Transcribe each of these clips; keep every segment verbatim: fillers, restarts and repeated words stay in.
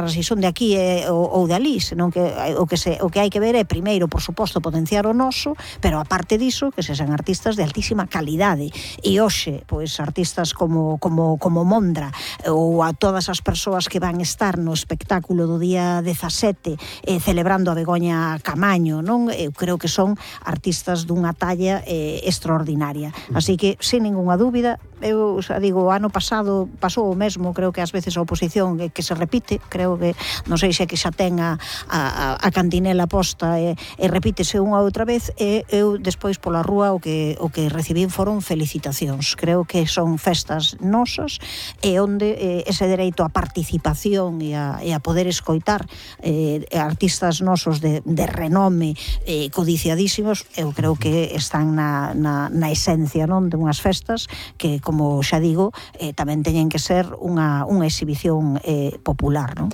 se son de aquí eh, ou, ou de ali, senón que o que se o que hai que ver é primeiro, por suposto, potenciar o noso, pero aparte diso, que se sean artistas de altísima calidade. E hoxe, pois artistas como como como Mondra ou a todas as persoas que van estar no espectáculo do día dezasete eh, celebrando a Begoña Camaño, non? Eu creo que son artistas dunha talla eh, extraordinaria. Así que, sin ningunha dúbida, eu xa digo, o ano pasado pasou o mesmo, creo que ás veces a oposición que, que se repite, creo que, non sei se é que xa ten a, a, a cantinela posta e, e repítese unha outra vez, e eu despois pola rúa o que, o que recibín foron felicitacións. Creo que son festas nosas e onde eh, ese dereito á participación e a, e a poder escoitar eh, artistas nosos de, de renome eh, codiciadísimos, eu creo que están na, na, na esencia, non, de unhas festas que, como xa digo, eh, tamén teñen que ser unha, unha exhibición eh, popular, non?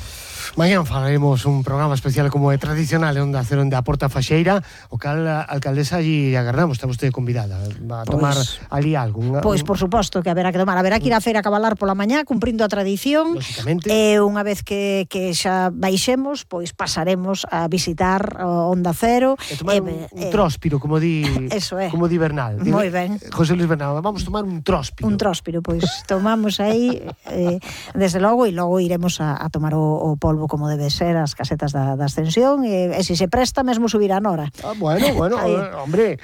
Mañán falaremos un programa especial como é tradicional en Onda Cero, onde a Porta Faxeira, o cal a alcaldesa allí agardamos, está vostede convidada a tomar pues, ali algo. Unha, pois, por suposto que haberá que tomar, haberá que ir a feira a cabalar pola mañá, cumprindo a tradición, e unha vez que, que xa baixemos, pois pasaremos a visitar o Onda Cero. E tomar eh, un, un eh, tróspiro, como di, eso é. Como di Bernal. Moi ben. José Luis Bernal, vamos tomar un tróspiro. Un tróspiro, pois tomamos aí, eh, desde logo, e logo iremos a, a tomar o, o polvo como debe ser, as casetas da, da ascensión, e, e se se presta mesmo subir a Nora. Ah, bueno, bueno, hombre.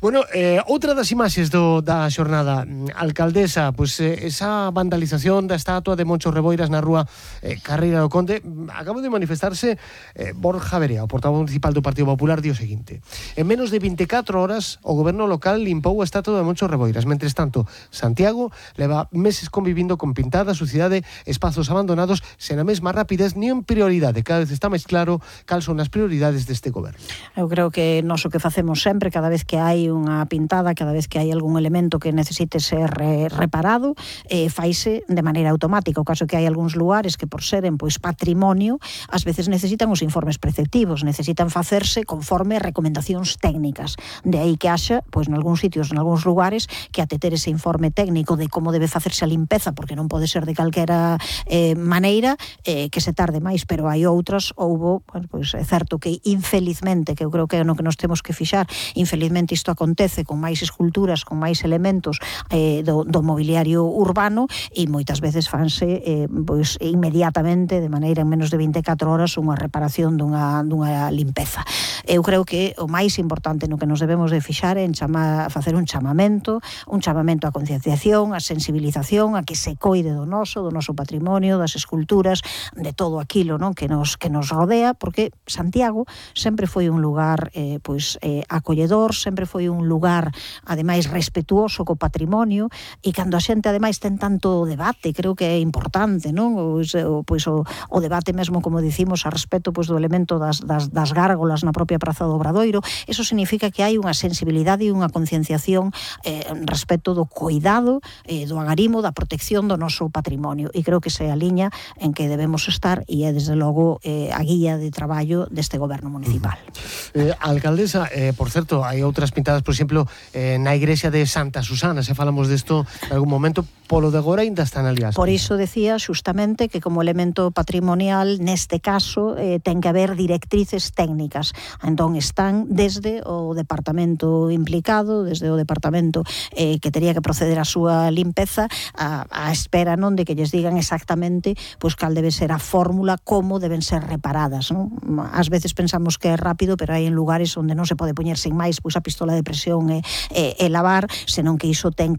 Bueno, eh, outra das imaxes do, da xornada, alcaldesa, pois pues, eh, esa vandalización da estatua de Moncho Reboiras na rúa eh, Carreira do Conde, acaba de manifestarse eh, Borja Verea, o portavoz municipal do Partido Popular, di o seguinte: en menos de vinte e catro horas o goberno local limpou a estatua de Moncho Reboiras. Mentres tanto, Santiago leva meses convivindo con pintada sucidade, espazos abandonados, sen a mesma rapidez nin prioridade. Cada vez está máis claro cal son as prioridades deste goberno. Eu creo que nós o que facemos sempre, cada vez que hai unha pintada, cada vez que hai algún elemento que necesite ser eh, reparado, eh, faise de maneira automática. O caso que hai algúns lugares que, por seren pois patrimonio, ás veces necesitan os informes preceptivos, necesitan facerse conforme recomendacións técnicas. De aí que haxa, pois nalgúns sitios, nalgúns lugares, que até ter ese informe técnico de como debe facerse a limpeza, porque non pode ser de calquera eh, maneira, eh, que se tarde máis, pero hai outras, houbo, bueno, pois é certo que infelizmente, que eu creo que é no que nos temos que fixar, infelizmente isto acontece con máis esculturas, con máis elementos eh, do, do mobiliario urbano, e moitas veces fanse eh, pois inmediatamente, de maneira en menos de vinte e catro horas, unha reparación dunha, dunha limpeza. Eu creo que o máis importante no que nos debemos de fixar é en chama, facer un chamamento, un chamamento á concienciación, á sensibilización, a que se coide do noso, do noso patrimonio, das esculturas, de todo aquilo, non, que nos que nos rodea, porque Santiago sempre foi un lugar eh, pois eh, acolledor, sempre foi un lugar ademais respetuoso co patrimonio, e cando a xente ademais ten tanto debate, creo que é importante, non? O, o, pois o, o debate mesmo, como dicimos, a respecto pois do elemento das, das, das gárgolas na propia Praza do Obradoiro, eso significa que hai unha sensibilidade e unha concienciación eh, respecto do cuidado, eh, do agarimo, da protección do noso patrimonio, e creo que esa é a liña en que debemos estar, e é desde logo eh, a guía de traballo deste goberno municipal. Uh-huh. eh, Alcaldesa, eh, por certo, hai outras pintadas, por exemplo, eh, na igrexa de Santa Susana, se falamos desto en algún momento, polo de agora ainda están ali as. Por iso decía xustamente que como elemento patrimonial, neste caso, eh, ten que haber directrices técnicas. Entón están desde o departamento implicado, desde o departamento eh, que tería que proceder a súa limpeza, a, a espera, non, de que lles digan exactamente pois cal debe ser a fórmula, como deben ser reparadas, non? Ás veces pensamos que é rápido, pero hai en lugares onde non se pode poñer sin máis pois a pistola de presión e, e, e lavar, senón que iso ten que